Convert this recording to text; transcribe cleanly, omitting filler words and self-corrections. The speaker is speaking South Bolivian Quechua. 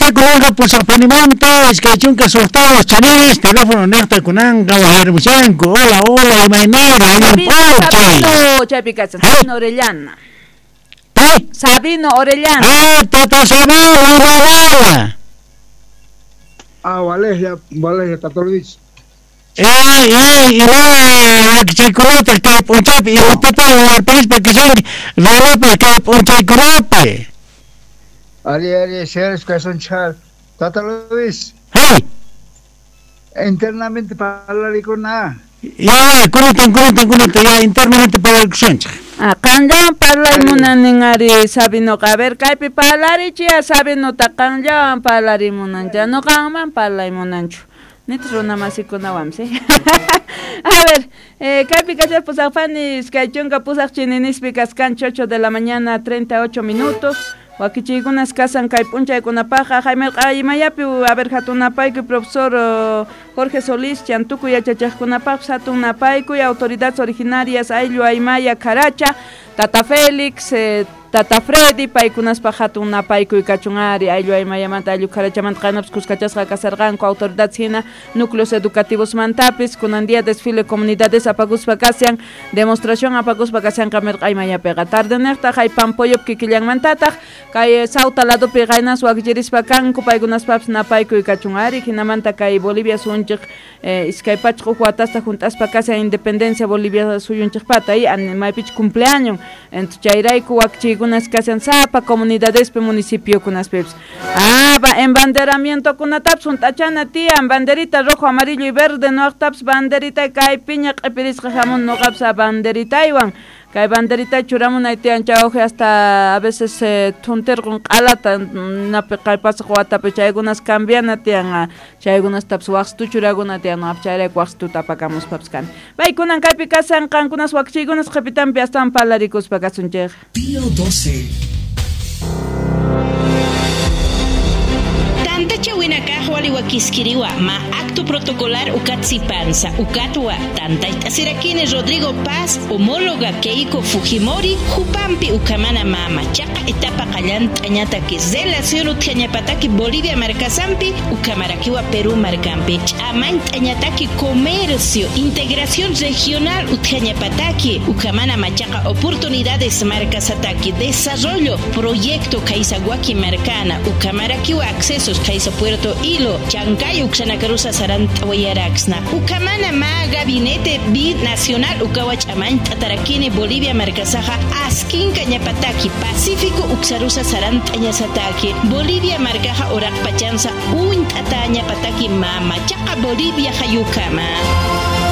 Kunanqa pusaqpanimanta 26 chaninis teléfono niqta kunanqa wajarimushanku. Hola, hola, imaynara, allin p'unchay. Sabino, chaypi kashan, Sabino Orellana. Pi? Sabino Orellana. Ah, tata Sabino, imaynara. Ah, Valeria, Valeria Tatolovich. Ima wakichiykunataq kay p'unchaypi imatataq warparispa kashanki runapaq kay p'unchaykunapi. Ali, Ali, señores, char. Tata Luis. Hey. Internamente parlarikuna. Ya, kunatan, ya internamente parlarikusunchik. Ah, qanllawan parlay munanin ari Sabinoqa. A ver, kaypi parlarichiya Sabinota qanllawan parlarimunancha. No qanman parlay munanchu. Nit runa masikunawan, ¿sí? A ver, kaypi kachar pusaqpani iskay chunka pusaq chininispi kaskanchik 8 de la mañana 38 minutos. Wakichiykunas kasan kay p'unchaykunapaqa Jaime Q'aymayapi a ver hatunapaykuy profesor Jorge Solís chantukuy yachachaqkunapaqpis hatunapaykuy autoridades originarias ayllu Aymaya Karacha Tata Félix Tata Freddy paykunaspaq hatun napaykuy kachun ari ayllu Aymayamanta ayllu Karachamanta qaynapis kuskachasqa kasarqanku autoridades hina núcleos educativos mantapis kunan día desfile comunidades apakuspa kashan demostración apakuspa kashanqa mirq'aymayapiqa tardeniqtaq hay Pampoyop kikillanmantataq kay Sauta ladopi qaynas wakichirispa kanku paykunaspapis napaykuy kachun ari hinamanta kay Bolivia suyunchik 201 watasta junt'aspa kashan independencia Bolivia suyunchikpata y maypichu cumpleaños entonces chayrayku wakichiykunas kashan sapa comunidadespi municipiokunaspipis. Ah, embanderamiento kunatapis hunt'achana tiyan banderita rojo, amarillo y verde noqtapis banderita kay piña q'ipirisqa hamun noqapis a banderitaywan kay banderita churamunay tiyan chawji hasta a veces thuntirqun q'alata napi kay pasaq watapi chaykunas cambiana tiyan chaykunastapis waqsitu churaguna tiyan noqapis chayrayku waqsituta apakamuspapis kani. Paykunan kaypi kasan qankunas wakichiykunas qhipitanpi astawan parlarikuspa kasunchik. Pío 12. Tantacha winakaj waliwakiskiriwa ma acto protocolar ukatsipanza ukatwa tantayt'asirakini Rodrigo Paz homóloga Keiko Fujimori Jupampi ukamana mama chaqa etapa qallant'añataki relación utjañapataki Bolivia markasampi ukamarakiwa Perú markampi ch'amant'añataki comercio integración regional utjañapataki ukamana machaqa oportunidades markasataki desarrollo proyecto Kaisaguaki markana ukamarakiwa accesos Kaisa Puerto Ilo Chancay Uxanacarusa Sarantawayaraxna Ukamana ma gabinete binacional Ukawach Amant'atarakini Bolivia markasaja Askinka ñapataki Pacífico Uxarusa Sarantañasataki Bolivia markaja Oraqpachansa Unt'atañapataki mama Chaqa Bolivia hayukama.